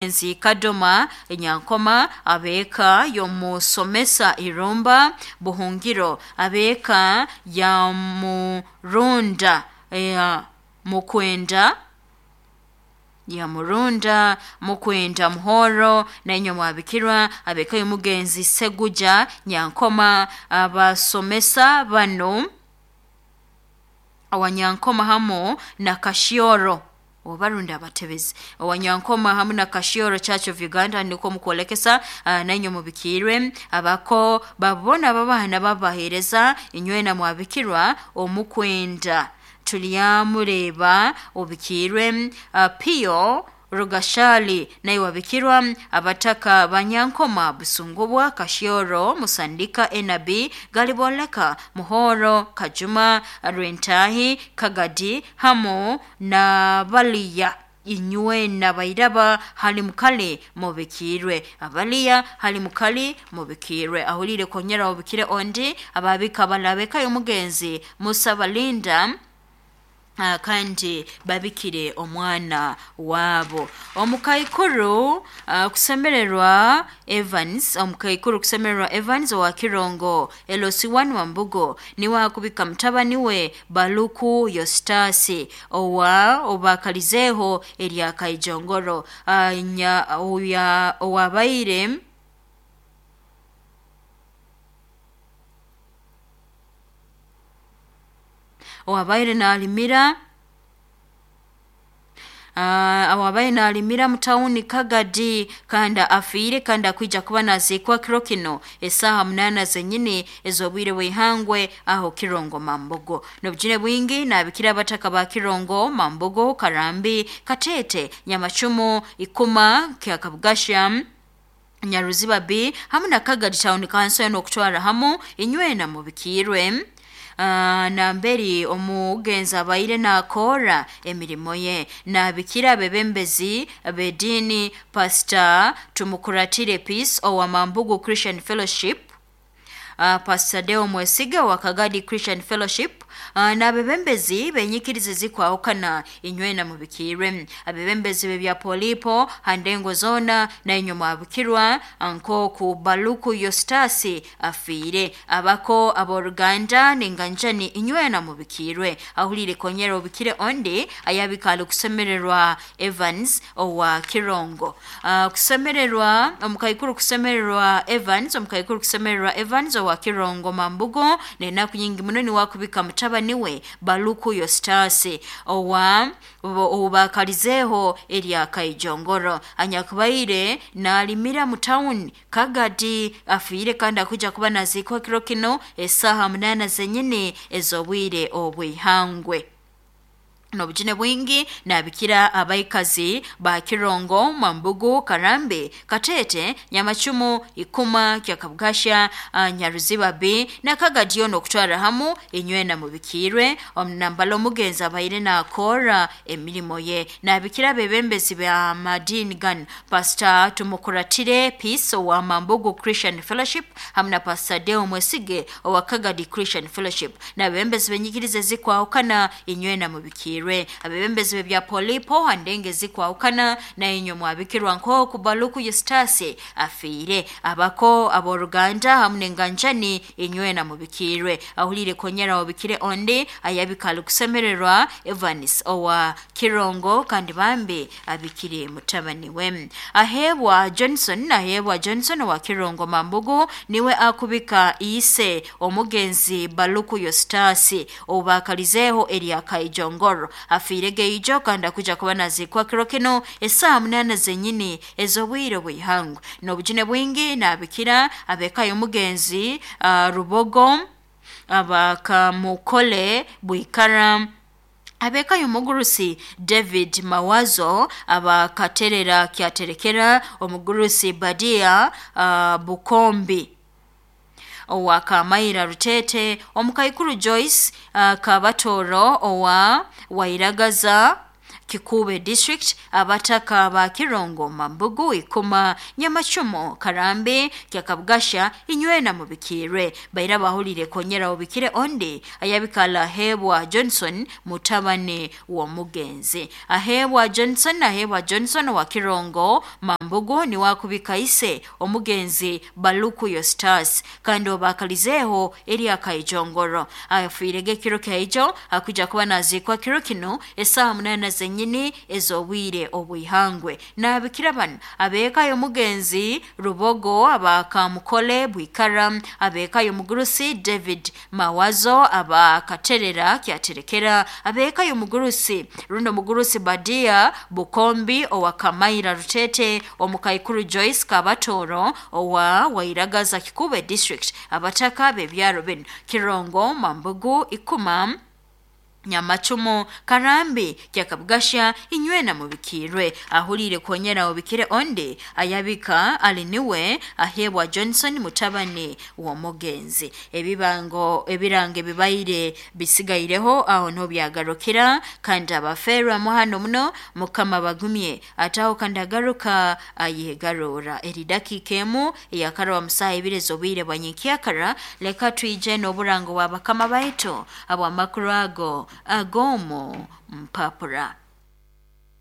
Nzi Kadoma Nyankoma, ab'eka y'omusomesa Irumba Buhungiro, ab'eka ya Murunda ya Mukwenda ya Murunda Mukwenda Muhoro, nainywe mwabikirwa ab'eka y'omugenzi Seguja Nyankoma. Abasomesa banu owanyankoma hamu na Kashyoro obarundi abatebezi owanyankoma hamu na Kashyoro Church of Uganda nikwo mukwolekesa. Nainywe mubikirwe abako babona babaana babahereza inywena mwabikirwa omukwenda tulyamureba obikirwe. Pio Rugashali naye wabikirwa abataka banyankoma Busungubwa Kashyoro Musandika Enabi Galiboleka Muhoro Kajuma Rwentahi Kagadi hamu na baliya inywe nabairaba hali mukali mubikirwe abaliya hali mukali mubikirwe ahulire konyera obikire ondi ababika balabeka y'omugenzi Musa Balinda. Kandi babikire omwana wabo omukaikuru kusemererwa Evans, omukaikuru kusemererwa Evans owa Kirongo LC1 Wambugo niwe akubika mutabani we Baluku Yostasi owa obakalizeho erya Kaijongoro, owabaire nalimira awabaire nalimira mutawuni Kagadi kandi afiire kandi akwija kuba naziikwa kiro kino esaaha 8 zenyini ez'obwire bw'ihangwe aho Kirongo Mambogo. N'obujune bwingi nabikira abataka ba Kirongo Mambogo Karambi Katete Nyamacumu Ikuma Kyakabugasha Nyaruziba B hamu na Kagadi Town Council n'okutwara hamu inywena mubikirwe. Namberi omugenzi abaire nakora emirimo ye nabikira abebembezi b'ediini Pastor Tumukuratire Peace owa Mambugu Christian Fellowship, Pastor Deo Mwesiga wa Kagadi Christian Fellowship, n'abebembezi benyikiriza zikwahukana inywena mubikirwe abebembezi b'ebya Polipo handengo zona nainywe mwabikirwa nkoku Baluku Yostasi afiire abako aboruganda ninganjani inywena mubikirwe ahulire konyera obikire ondi ayabikali kusemererwa Evans owa Kirongo. Kusemererwa omukaikuru kusemererwa Evans, omukaikuru kusemererwa Evans owa Kirongo Mambugo nenaku nyingi muno niwakubika mutabani we Baluku Yostasi owa obakalizeho erya Kaijongoro anyakubaire nalimira mu town Kagadi afiire kandi akuja kuba naziikwa kiro kino esaaha 8 zenyini ez'obwire obw'ihangwe. N'obujune bwingi nabikira abaikazi ba Kirongo Mambugu Karambe Katete Nyamacumu Ikuma Kyakabugasha, Nyaruziba B na Kagadiyo n'okutwara hamu inywena mubikirwe omunambala omugenzi abaire nakora emirimo ye nabikira abebembezi ba madini gan Pastor Tumukuratire Peace owa Mambugu Christian Fellowship hamu na Pastor Deo Mwesige owa Kagadi Christian Fellowship n'abebembezi benyikiriza ezikwahukana inywena mubikirwe abebembezi b'ebya Polipo handenge zikwahukana nainywe mwabikirwa nkoku Baluku Yostasi afiire abako aboruganda hamu n'enganjani inywena mubikirwe ahulire konyera obikire ondi ayabikali kusemererwa Evans owa Kirongo kandi bambi abikire mutabani we Ahebwa Johnson. Ahebwa Johnson owa Kirongo Mambugu niwe akubika ise omugenzi Baluku Yostasi obakalizeho erya Kaijongoro afiire geijo kandi akuja kuba naziikwa kiro kino esaaha 8 zenyini ez'obwire bw'ihangwe. N'obujune bwingi nabikira ab'eka y'omugenzi Rubogo abakamukole Bwikara ab'eka y'omugurusi David Mawazo abakaterera kyaterekera omugurusi Badia Bukombi owa Kamaira Rutete omukaikuru Joyce Kabatoro owa Wairagaza Kikube district, abataka ba Kirongo, Mambugu, Ikoma, Nyamachumo, Karambi, Kyakabugasha, inywena mubikirwe. Baira bahulire konyera obikire ondi ayabikala Hebwa Johnson mutabani wa mugenzi. Ahebwa Johnson, Ahebwa Johnson wa Kirongo, Mambugu ni wakubika ise omugenzi Baluku Yostas kandi obakalizeho eri akaijongoro. Afiirege kiro kyaijo akuja kuba nazikwa kiro kino esaha 8 zenyini ez'obwire obwihangwe. Nabikira bano abeeka y'omugenzi Rubogo, abakamukole Bwikara, abeeka y'omugurusi David Mawazo, abakaterera Kyaterekera, abeeka y'omugurusi runo mugurusi Badia Bukombi owa Kamaira Rutete, omukaikuru Joyce Kabatoro owa Wairagaza Kikube district, abataka b'ebyaro bino Kirongo, Mambugu, Ikuma, Nyamachumo, Karambi, Kyakabugasha, inywena mubikirwe. Ahulire konyera obikire onde ayabika aliniwe Ahebwa Johnson mutabani wa mugenzi. Ebibango ebirange bibaire bisigaireho aho no byagarukira, kandi abaferwa muhano muno Mukama bagumye ataho kandi agaruka ayegarura. Eri dakika emu yakarwa musaha ibiri z'obwire bwa nyenkyakara. Leka twije n'oburango bwa bakama baitu abw'amakuru ago agomu mpapura.